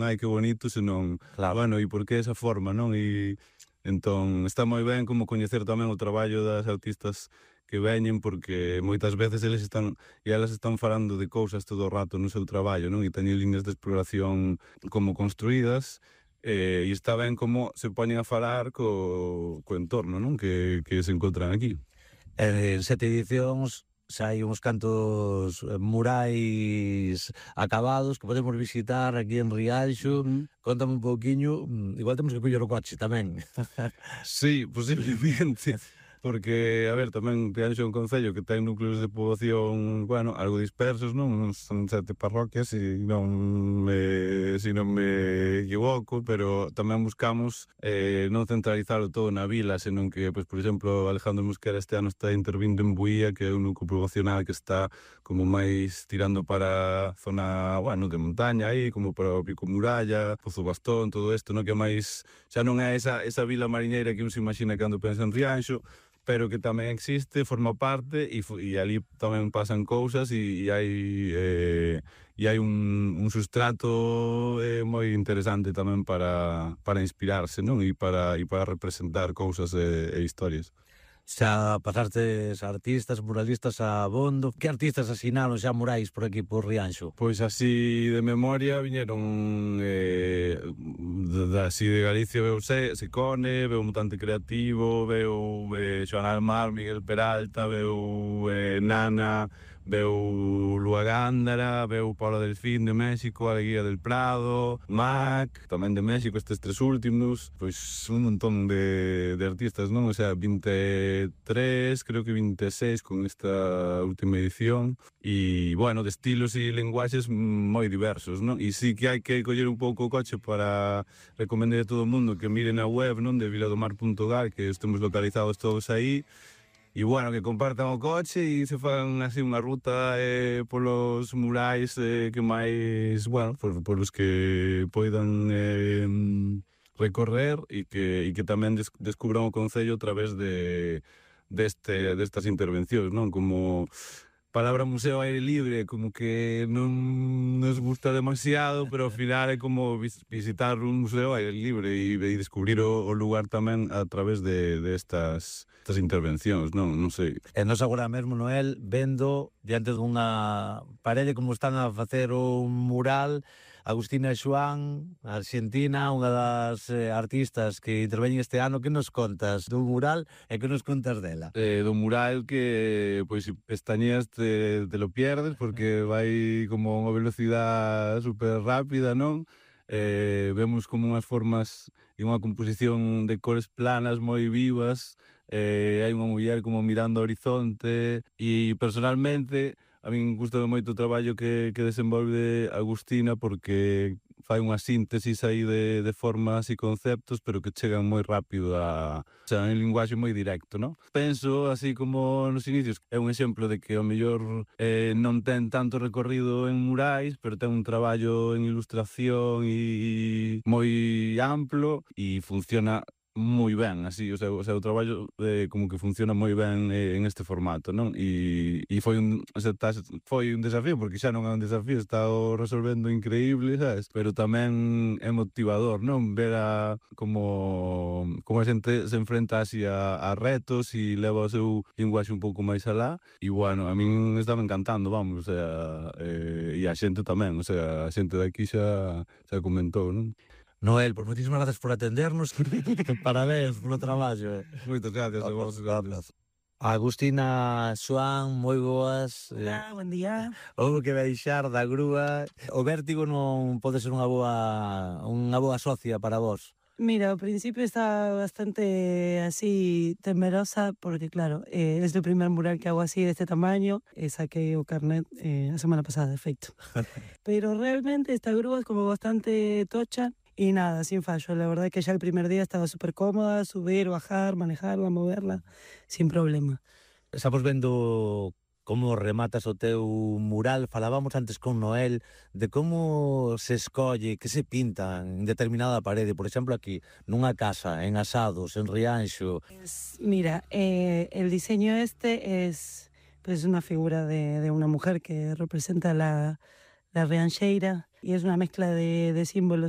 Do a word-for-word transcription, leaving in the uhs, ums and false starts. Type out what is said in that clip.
ai, que bonito, senón, Claro. bueno, e por que esa forma, non? E entón, está moi ben como coñecer tamén o traballo das artistas que veñen, porque moitas veces eles están e elas están falando de cousas todo o rato no seu traballo, non? E teñen liñas de exploración como construídas, eh, e está ben como se poñen a falar co, co entorno, non? Que, que se encontran aquí. En sete edicións xa hai uns cantos murais acabados que podemos visitar aquí en Rianxo. Mm. Contame un pouquiño, igual temos que coller o coche tamén. Sí, posiblemente, porque, a ver, tamén Rianxo é un concello que ten núcleos de poboación, bueno, algo dispersos, non? Son sete parroquias, e non me, si non me equivoco, pero tamén buscamos eh, non centralizalo todo na vila, senón que, pues, por exemplo, Alejandro Mosquera este ano está intervindo en Buía, que é un núcleo poboacional que está como máis tirando para a zona, bueno, de montaña aí, como para o Pico Muralla, Pozo Bastón, todo isto, non? Que máis, xa non é esa, esa vila mariñeira que un se imagina cando pensa en Rianxo, pero que tamén existe, forma parte, e, e ali tamén pasan cousas, e, e hai eh, e hai un, un sustrato eh, moi interesante tamén para, para inspirarse, non? E para, e para representar cousas e, e historias. Xa pasastes artistas, muralistas a bondo. Que artistas asinaron xa murais por aquí, por Rianxo? Pois así de memoria viñeron eh, de, así de Galicia veu Se, Secone, veu Mutante Creativo, veu eh, Xoan Almar, Miguel Peralta, veu eh, Nana, veu Lua Gándara, veu Paula Delfín de México, Alegría del Prado, Mac, tamén de México, estes tres últimos, pois un montón de, de artistas, non? O sea, veintitrés, creo que veintiséis con esta última edición, e, bueno, de estilos e lenguaxes moi diversos, non? E sí que hai que coller un pouco o coche para recomendar a todo o mundo que miren a web, non? De viladomar punto gal, que estemos localizados todos aí. E, bueno, que compartan o coche e se fan así unha ruta eh, polos murais eh, que máis, bueno, por, polos que poidan eh, recorrer, e que, e que tamén des, descubran o concello a través de deste, destas intervencións, non? Como palabra museo aire libre, como que non nos gusta demasiado, pero ao final é como vis, visitar un museo aire libre e, e descubrir o, o lugar tamén a través de, de estas, estas intervencións, non? Non sei. E nos agora mesmo, Noel, vendo diante dunha parede como están a facer un mural Agustina Xoán, argentina, unha das eh, artistas que interveñen este ano. Que nos contas do mural e que nos contas dela? Eh, do mural que, pois, si pestañeas te, te lo pierdes, porque vai como unha velocidade super rápida, non? Eh, vemos como unhas formas e unha composición de cores planas moi vivas, eh, hai unha muller como mirando ao horizonte, e personalmente a min gusta moito o traballo que, que desenvolve Agustina, porque fai unha síntesis aí de, de formas e conceptos, pero que chegan moi rápido a... O sea, un linguaxe moi directo, non? Penso, así como nos inicios, é un exemplo de que ao mellor eh, non ten tanto recorrido en murais, pero ten un traballo en ilustración e, e moi amplo, e funciona moi ben, así, o sea, o sea, o traballo eh, como que funciona moi ben eh, en este formato, non? E, e foi un, o sea, tas, foi un desafío, porque xa non é un desafío, está o resolvendo increíble, sabes? Pero tamén é motivador, non? Ver a como, como a xente se enfrenta así a, a retos e leva o seu linguaxe un pouco máis alá, e, bueno, a min estaba encantando, vamos, o sea, eh, e a xente tamén, o sea, a xente daqui xa, xa comentou, non? Noel, pois moitísimas gracias por atendernos. Parabéns polo traballo. Eh. Moitas gracias a vos. Gracias. Agustina Xoán, moi boas. Hola, buen día. Houve que baixar da grúa. O vértigo non pode ser unha boa unha boa socia para vos. Mira, ao principio estaba bastante así temerosa porque, claro, eh, es o primer mural que hago así de este tamaño. Eh, saqué o carnet eh, a semana pasada, de feito. Pero realmente esta grúa es como bastante tocha. Y nada, sin fallo, la verdad que ya el primer día estaba súper cómoda, subir, bajar, manejarla, moverla, sin problema. Estamos vendo como rematas o teu mural. Falábamos antes con Noel de como se escolle, que se pinta en determinada parede, por exemplo aquí, nunha casa, en Asados, en Rianxo. Pues, mira, eh, el diseño este es pues una figura de, de una mujer que representa la, la riancheira, y es una mezcla de, de símbolos